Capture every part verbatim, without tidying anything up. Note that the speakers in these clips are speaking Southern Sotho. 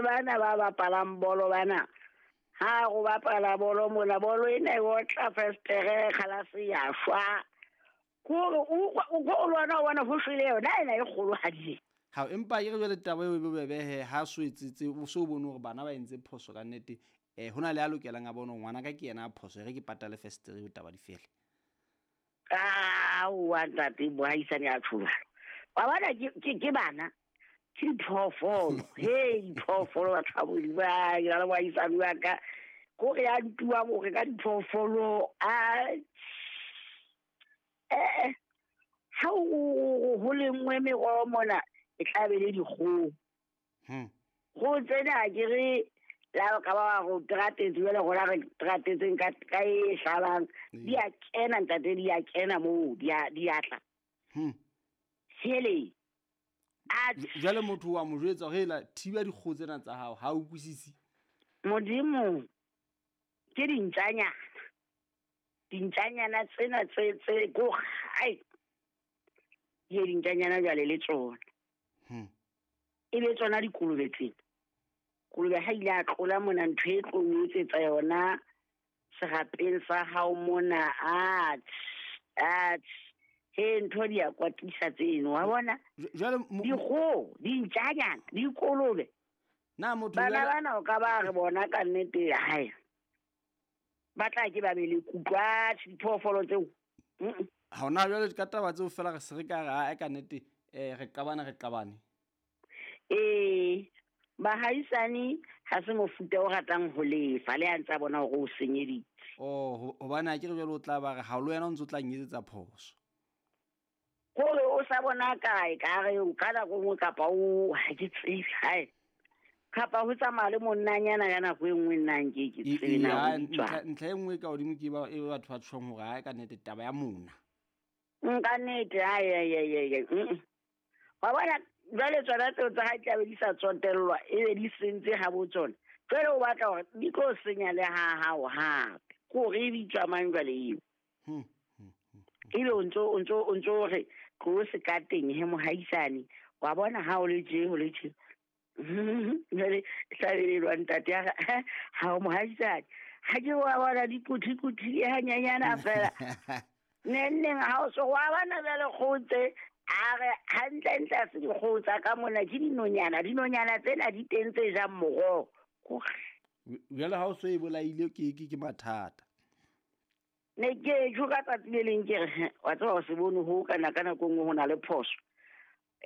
Le bana ba bapalang bolo bana ha go bapala bolo mona bolo ena e otla festere kgalase ya shwa kore o o lwana o bona ho shwele yona ena e kgolohadi. Ha empa ke re jwale taba eo e bobebe he ha so etsetse o so bone hore bana ba entse phoso ka nnete eh hona le a lokelang a bone ngwana ka ke yena a phoso re ke patale festere ho taba di fele. Ah wa ntate bohaisane a tshola. Wa bona ke ke bana ke diphoofolo he diphoofolo batho ba Modimo ba ke le bohaisane wa ka kore ya ntuwa hore ka diphoofolo a eh ha ho lengwe meroho mona e tla be le dikgoho. Hmm. Go tsena ke re la ka ba go tratetse jwale gona re tratetseng ka ka e hlalang di a kena ntate di a kena moo di a di a tla. Hmm. Hele. A jwale motho wa mo jwetsa hore la thiba dikgoho tsena tsa hao ha o utlwisisi. Modimo ke dintjanyana. Dintjanyana tsena tse tse go ai. Ye dintjanyana jwale le tsona. Hmm. E be tsona dikolobe tsena. Kolobe ha ile a tlola mona ntho e tlo o etsetsa yona serapeng sa hao mona a a he ntho di a kwatisa tseno wa bona jwale dikgoho dintjanyana dikolobe na motho bana bana o ka ba re bona ka nnete hae ba tla ke ba be le kutlwa diphoofolo tseo. Ha ona jwale ka taba tseo fela re se re ka re ha ka nnete eh re qabana re qabane eh bahaisane ha se mofuta o ratang ho lefa le a ntsa bona hore o senyeditse. Oh hobane ha ke re jwale o tla ba re ha lo wena o ntso tla nyetsetsa phoso. Kore o sa bona kae ka re o ka nako nngwe kapa o ha ke tsebe hae kapa ho tsamaya le monnanyana ka nako e nngwe nna nke ke tsebe na ntlha e nngwe ka hodimo ke ba e batho ba tshwang hore ha ka nnete taba ya mona. Nka nnete ai ai ai ai. Wa bona jwale tsona tseo tsa hae tlabe di sa tsotellwa e be di sentse ha bo tsona. Jwale o batla hore di tlo senya le ha hao hape. Kore e bitswa mang jwale eo. Hmm. Ebe o ntso o ntso o ntso re tlo se ka teng he mohaisane wa bona ha o le tje ho le tje. Jwale hlabelelwa ntate ya ha o mohaisane. Ha ke wa bona dikuthi kuthi hanyanyana fela. Neng ha o so wa bona jwale kgotse a re hantle ntle a se dikgoho tsa ka mona ke dinonyana dinonyana tsena di teng tse jang moroho. Jwale ha o so e bolaile ke ke ke mathata. Ne ke tjho ka tsatsi le leng ke re wa tseba o se bone ho kana ka nako nngwe ho na le phoso.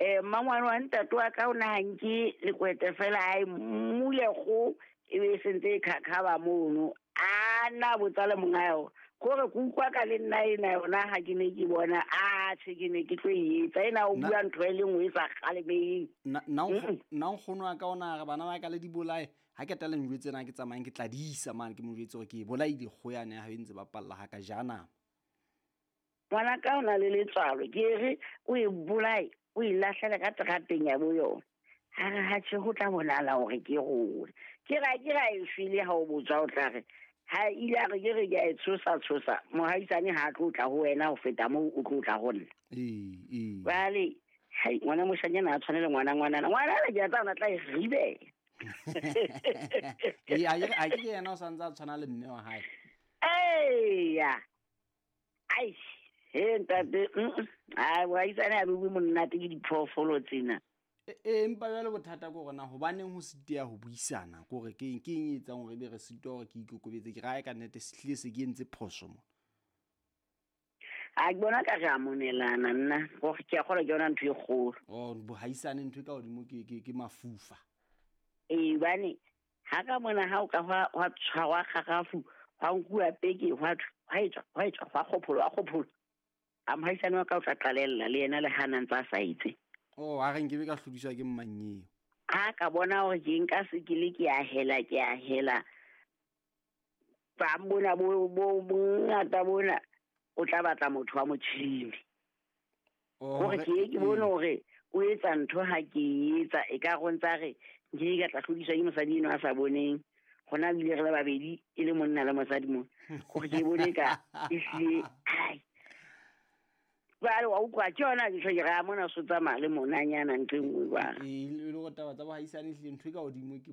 Eh mmangwane wa ntate wa ka o na hanke lekwete fela ai mule kgo e be sentse e khakhaba mono a na botsa le monga yona kore ke utlwa ka le nna ena yona ha ke ne ke bona a tjhe ke ne ke tlo e etsa ena o bua ntho e le nngwe e sa kgalemeng. Nna nna nkgono wa ka ona re bana ba ka le di bolae ha ke tla le njwetse na ke tsamayang ke tla di isa mane ke mo jwetse hore ke e bolaile kgoho yane ha e ntse ba palla ha ka jana. Ngwana ka o na le letswalo ke re o e bolae o e lahlele ka terateng ya bo yona. Ha re ha tjhe ho tla bonala hore ke rona. Ke ra ke ra e shwele ha o botsa o tla re ha ile a re ke re ke a e tshosa tshosa mohaisane ha tlo tla ho wena ho feta moo o tlo tla ho nna. Ee ee. Jwale hai ngwana moshanyana a tshwanele ngwana ngwanana ngwana le ke a tsana tla e ribela. Ee a ke ke yena o santse a tshwana le mme wa hae. Eya. Ai he ntate ai mohaisane a bue monate ke diphoofolo tsena. E empa jwale bothata ke hore na hobaneng ho siteya ho buisana ke hore ke eng ke eng e etsang hore ebe re sitwa hore ke ikokobetse ke rae ka nnete se hlile se ke entse phoso mona. A ke bona ka re a monelana nna gore ke a kgolwa ke yona ntho e kgolo. Oh bohaisane ntho e ka hodimo ke ke ke mafufa. Ee bane ha ka mona ha o ka hwa hwa tshwarwa kgarafu hwa nkuwa peke hwa hwa etswa hwa etswa hwa kgopholo hwa kgopholo. A mohaisane wa ka o tla qalella le yena le hana ntse a sa etse. Oh a re nke be ka hlodiswa ke mmanyeo. Ha ka bona hore ke nka se ke le ke a hela ke a hela. Ba bona bo bo bongata bona o tla batla motho wa motjhini. Hore ke ke bone hore o etsa ntho ha ke etsa e ka go ntsa re nke ka tla hlodiswa ke mosadi eno a sa boneng. Hona bile re le babedi e le monna le mosadi mo. Hore ke bone ka e hlile ai. Jwale wa utlwa ke yona ke ke ra mona so tsamaya le monanyana ntho e nngwe jwale. E le go taba tsa bohaisane hlile ntho e ka hodimo ke